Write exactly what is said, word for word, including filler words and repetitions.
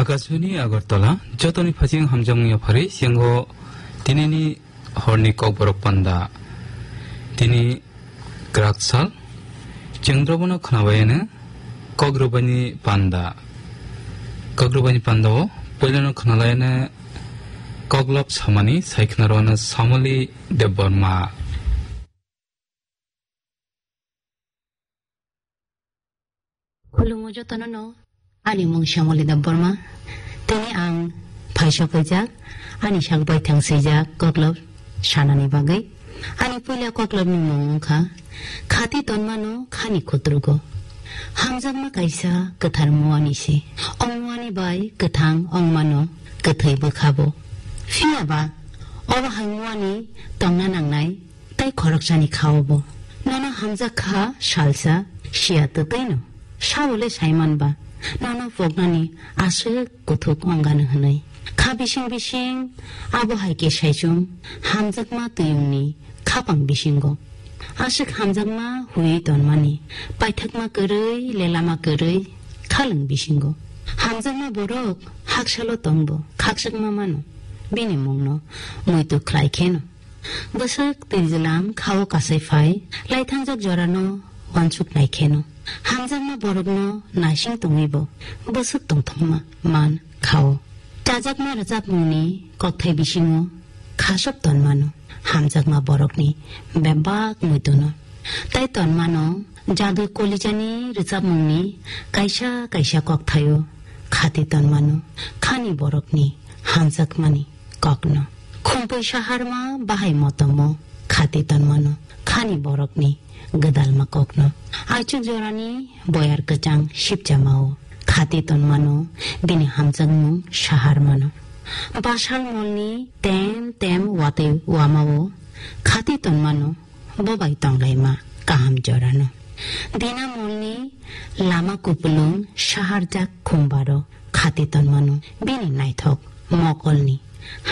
Kachuni Agartala, jotoni phaching hamjakmung yaphari, siyango tinini horni kokborok panda. Tini kwrak sal, chwngdrobono khnabayano kokrwbaini panda. Kokrwbaini pandao puilano khnalayano koklop samani saikhnarwano Samoli Debbarma. Khulumgo jotono no, ani mung Shyamali Debbarma. Tini ang phaisa phaijak, ani sak bai thang swijak koklop sanani bagwi. Ani puila koklopni mung wngkha, Khati tonmano khani khutrugo. Hamjakma kaisa kwthar muani se. O muani bai kwthang wngmano kwthwi bwkhabo. Phiyaba, obo hai muani tongna nangnai tei khoroksani khao bo. Nono hamjak kha salsa, siya twtwino. Sabo le saiman ba, nono poknani aswk kuthuk ongano hwnwi. Kha bising bising, abo hai khe saichung, hamjakma twiyungni khapang bisingo. Aswk hamjakma huiwi tonmani, paithakma kwrwi, lelama kwrwi, khalwng bisingo. Hamjakma borok haksalo tongbo, khakchangma mano, bini mungno muitu khlai kheno. Bwswk twijlam khao kasai phai, laithangjak jorano wansuk nai kheno. Hamjakma borokno naising tongwibo bwswk tongthokma man khao. Chajakma rwchapmungni kokthai bisingo khasok tonmano hamjakma borokni bebak muituno. Tai tonmano jadui kolijani rwchapmungni kaisa kaisa kokthaio khati tonmano khani borokni hamjakmani kokno. Khumpui saharma bahai motomo khati tonmano khani borokni gwdalma kokno. Aichuk jorani boyar kwchang sipchamao khati tonmano bini hamjakmung saharmano. Basal molni tem tem watwi wamao khati tonmano bo bai tonglaima kaham jorano. Dinamolni lama kupulung saharjak khumbaro khati tonmano bini naithok mokolni